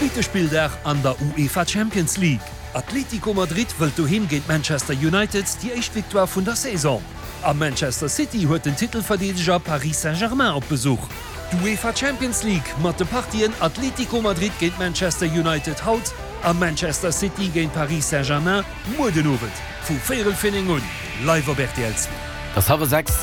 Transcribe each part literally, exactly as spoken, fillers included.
Zweete Spilldag an der UEFA Champions League. Atlético Madrid wëllt doheem géint Manchester United déi éischt Victoire vun der Saison. A Manchester City huet den Titelverdeedeger Paris Saint-Germain op Besuch. D'UEFA Champions League mat de Partien Atlético Madrid géint Manchester United haut a Manchester City géint Paris Saint-Germain muer den Owend vu véierel fir néng un, live op rtl zwee. Et ass hallwer sechs.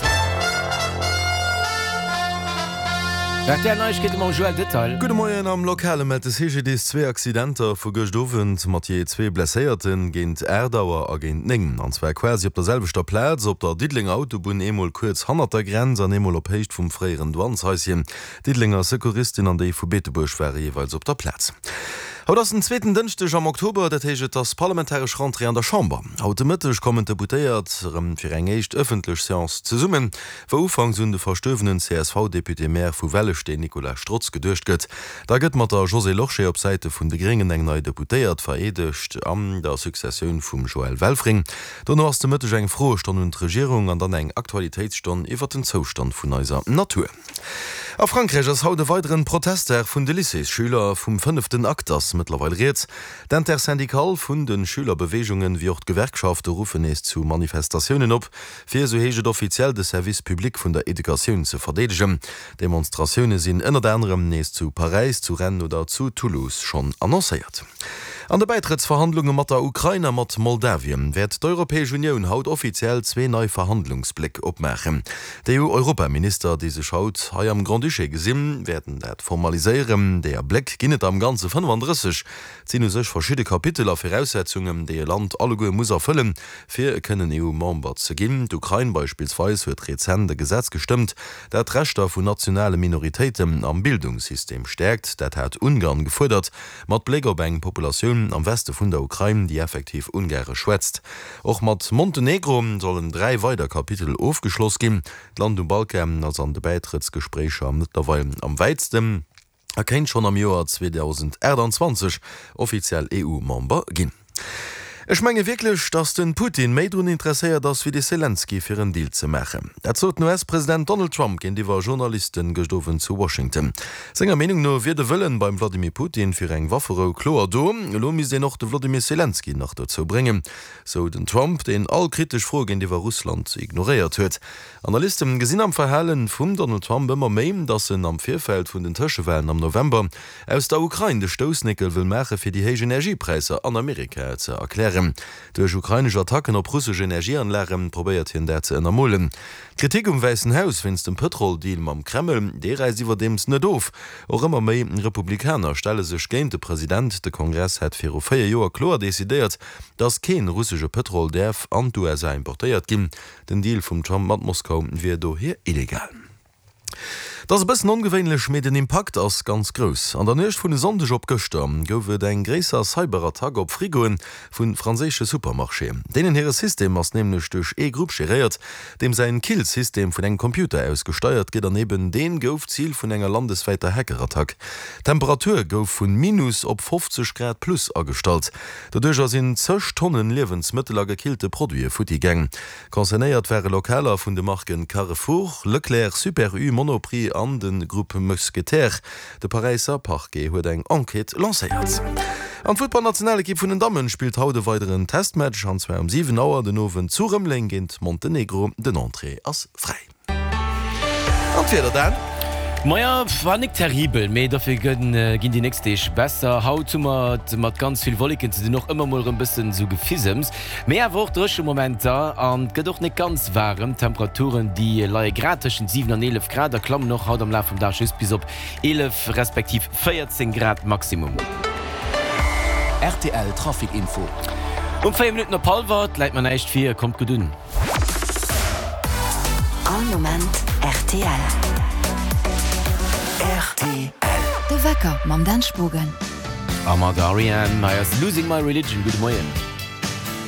Rtl Neiegkeete mam Joël Detail. Gudde Moien, Am Lokale mellt de C G D I S zwee Accidenter vu gëscht Owend mat jee zwee Blesséierten, géint aacht Auer a géint néng. An zwar quasi op der selwechter Plaz, op der Diddelenger Autobunn, eemol kuerz hannert der Grenz an eemol op Héicht vum fréieren Douaneshaischen. D'Diddelenger Secouristin an déi vu Beetebuerg ware jeeweils op der Plaz. Haut ass den zweeten Dënschdeg am Oktober, dat heescht et ass parlamentaresch Rentrée an der Chamber. Haut de Mëtteg kommen d'Deputéiert erëm fir eng éischt ëffentlech Seance zesummen, wou ufanks un de verstuerwenen C S V-Député-Maire vu Wellesteen Nicolas Strotz geduecht gëtt. Da gëtt mat der Josée Lorsché op Säite vun de Gréngen eng nei Deputéiert vereedegt an der Successioun vum Joël Welfring. Dono ass de Mëtteg eng Froestonn un d'Regierung an dann eng Aktualitéitsstonn iwwer den Zoustand vun eiser Natur. A Frankräich ass haut e weideren Protestdag vun de Lycéesschüler. Vum fënneften Akt ass mëttlerweil rieds. D'Intersyndicale vun de Schülerbeweegungen, wéi och d'Gewerkschafte ruffen nees zu Manifestatiounen op, fir, esou heescht et offiziell, de Service public vun der Educatioun ze verdeedegen. Demonstratioune sinn ënnert anerem nees zu Paräis, zu Rennes oder zu Toulouse schonn annoncéiert. An de Bäitrëttsverhandlunge mat der Ukrain a mat Moldawien wäert d'Europäesch Unioun haut offiziell zwee nei Verhandlungsbléck opmaachen. D'E U-Europaminister, déi sech haut hei am Grand-Duché gesinn, wäerten dat formaliséieren. Deeër Bléck ginn et am Ganze fënnefandrësseg. Et sinn u sech verschidde Kapitel a Viraussetzungen, déi e Land alleguer muss erfëllen, fir kënnen E U-Member ze ginn. D'Ukrain beispillsweis huet rezent e Gesetz gestëmmt, dat d'Rechter vun nationale Minoritéiten am Bildungssystem stäerkt. Dat hat Ungarn gefuerdert, mat Bléck op eng Populatioun am Weste vun der Ukrain, déi effektiv Ungaresch schwätzt. Och mat Montenegro sollen dräi weider Kapitel ofgeschloss ginn. D'Land um Balkan ass an de Bäitrëttsgespréicher mëttlerweil am wäitsten a kéint schonn am Joer zweedausendaachtanzwanzeg offiziell E U-Member ginn. Ech menge wierklech, datt de Putin méi drun interesséiert ass wéi de Selenskyj fir en Deal ze maachen. Dat sot den U S-President Donald Trump géintiwwer Journalisten gëscht Owend zu Washington. Senger Meenung no wier de Wëllen beim Vladimir Putin fir eng Wafferou kloer do, elo misst een och de Vladimir Selenskyj nach dozou bréngen, sou den Trump, deen all kritesch Froe géintiwwer Russland ignoréiert huet. Analysten gesinn am Verhalen vum Donald Trump ëmmer méi, datt en am Virfeld vun den Tëschewalen am November aus der Ukrain de Stoussnéckel wëll maache fir déi héich Energiepräisser an Amerika ze erklären. Duerch ukrainesch Attacken op russesch Energieanlage probéiert hien dat ze ënnermolen. D'Kritik um Wäissen Haus wéinst dem Pëtroldeal mam Kreml, dee räisst iwwerdeems net of. Och ëmmer méi Republikaner stelle sech géint de President. De Kongress hätt viru véier Joer kloer decidéiert, datt kee russesche Pëtrol däerf an d'U S A importéiert ginn. Den Deal vum Trump mat Moskau wier dohier illegal. Dat ass e bëssen ongewéinlech, mee den Impakt ass ganz grouss. An der Nuecht vun e Sonndeg op gëschter gouf et eng gréisser Cyberattack op Frigoe vu franséische Supermarchéen. Deenen hire System ass nämlech duerch ee Grupp geréiert, deem säin Killsystem vun engem Computer aus gesteiert gëtt an eben dee gouf Zil vun enger landeswäiter Hackerattack. D'Temperatur gouf vu Minus op fofzeg Grad plus agestallt. Doduercher sinn zeg Tonnen Liewensmëttel a gekillte Produite futti gaang. Concernéiert ware Lokaler vun de Marken Carrefour, Leclerc, Super U, Monoprix an de Grupp Mousquetaires. De Paräisser Parquet huet eng Enquête lancéiert. An d'Futtballnationalekipp vun den Dammen spillt haut e weideren Testmatch, an zwar um siwen Auer den Owend zu Rëmeleng géint Montenegro. Den Entrée ass fräi. An d'Wieder dann? Maja, war nik terribel, mee dofir ginn ginn déi nächst Deeg besser. Haut hu mer et mat ganz vill Wolleken ze dinn, och ëmmer mol erëm bëssen sou Gefisems, mee awer och dréche Momenter an et gëtt och nik ganz waarem. D'Temperaturen déi leie grad tëschent siwen an eelef Grad a klammen och haut am Laf vum Dag just bis op eelef respektiv véierzéng Grad Maximum. R T L Trafic Info. Um véier Minutten op hallwer, et läit mer näischt vir, kommt gutt un. All Moment R T L. R T L. De Wecker mam Dan Spogen. A mat R E M hei ass Losing My Religion. Gudde Moien.